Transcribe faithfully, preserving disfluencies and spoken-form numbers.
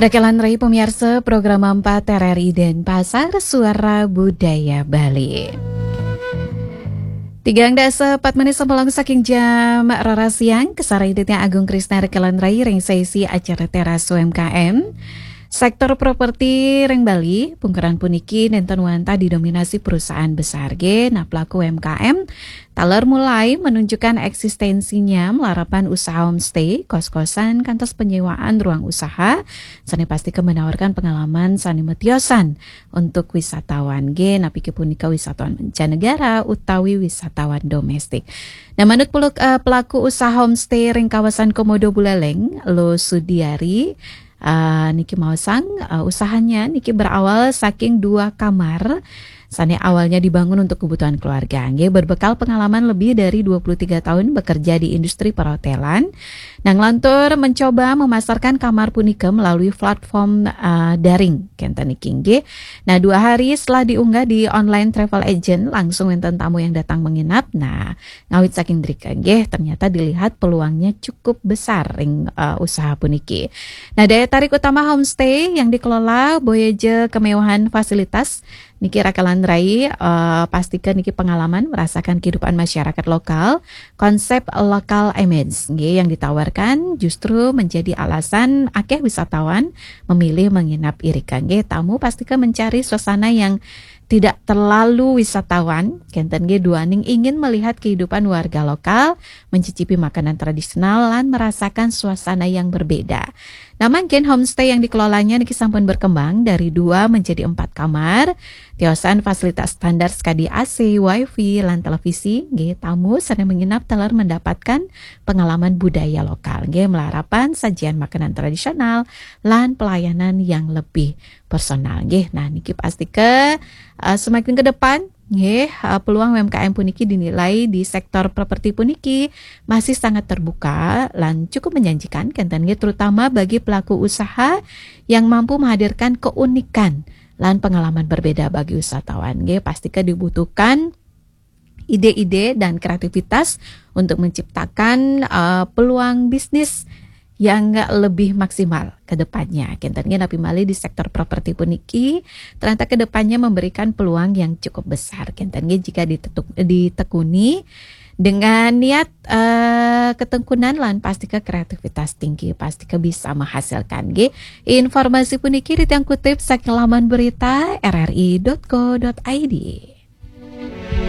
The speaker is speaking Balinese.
Rekelan rai pamiarsa program empat R R I Denpasar, Suara Budaya Bali. Tigang dasa empat menit sambilong saking jam rarasian, kasarahang Agung Krisna rekelan rai ring sesi acara Teras U M K M. Sektor properti ring Bali, pungkaran puniki nenten wantah didominasi perusahaan besar nggih, nah pelaku U M K M taler mulai menunjukkan eksistensinya malarapan usaha homestay, kos-kosan, kantos penyewaan ruang usaha, sane pastika menawarkan pengalaman sane matiosan untuk wisatawan nggih, napi ke punika wisatawan mancanegara utawi wisatawan domestik. Nah, manut peluk-, eh, pelaku usaha homestay ring kawasan Komodo Buleleng, Lo Sudiari, eh, niki maosang, eh, usahanya niki berawal saking dua kamar sane awalnya dibangun untuk kebutuhan keluarga. Nggih, berbekal pengalaman lebih dari dua puluh tiga tahun bekerja di industri perhotelan, nah, nglantur mencoba memasarkan kamar punika melalui platform, eh, daring, kenten niki nggih. Nah, dua hari setelah diunggah di online travel agent, langsung wenten tamu yang datang menginap. Nah, ngawit saking drika nggih, ternyata dilihat peluangnya cukup besar ring, eh, usaha puniki. Nah, daya tarik utama homestay yang dikelola boya ja kemewahan fasilitas, niki rekelan rai, eh, pastika niki pengalaman merasakan kehidupan masyarakat lokal, konsep local image nggih yang ditawarkan justru menjadi alasan akeh wisatawan memilih menginap irika nggih. Tamu pastika mencari suasana yang tidak terlalu wisatawan, kenten nggih, duaning ingin melihat kehidupan warga lokal, mencicipi makanan tradisional, lan merasakan suasana yang berbeda. Nah, mangkin homestay yang dikelolanya niki sampun berkembang dari dua menjadi empat kamar. Tiosan fasilitas standar sakadi A C, wifi, lan televisi, nggih, tamu sane menginap taler mendapatkan pengalaman budaya lokal, nggih, malarapan sajian makanan tradisional lan pelayanan yang lebih personal, nggih. Nah, niki pastika, eh, semakin ke depan, nggih, eh, peluang U M K M puniki dinilai di sektor properti puniki masih sangat terbuka lan cukup menjanjikan, kenten nggih, terutama bagi pelaku usaha yang mampu menghadirkan keunikan lan pengalaman berbeda bagi wisatawan, nggih. Pastika dibutuhkan ide-ide dan kreativitas untuk menciptakan, eh, peluang bisnis yang lebih maksimal ke depannya. Kenten nggih, napi malih di sektor properti puniki ternyata ke depannya memberikan peluang yang cukup besar. Kenten nggih, jika ditetuk-, ditekuni dengan niat, eh, ketekunan lan pastika kreativitas tinggi, pastika bisa menghasilkan nggih. Informasi puniki titiang kutip saking laman berita R R I dot co dot I D.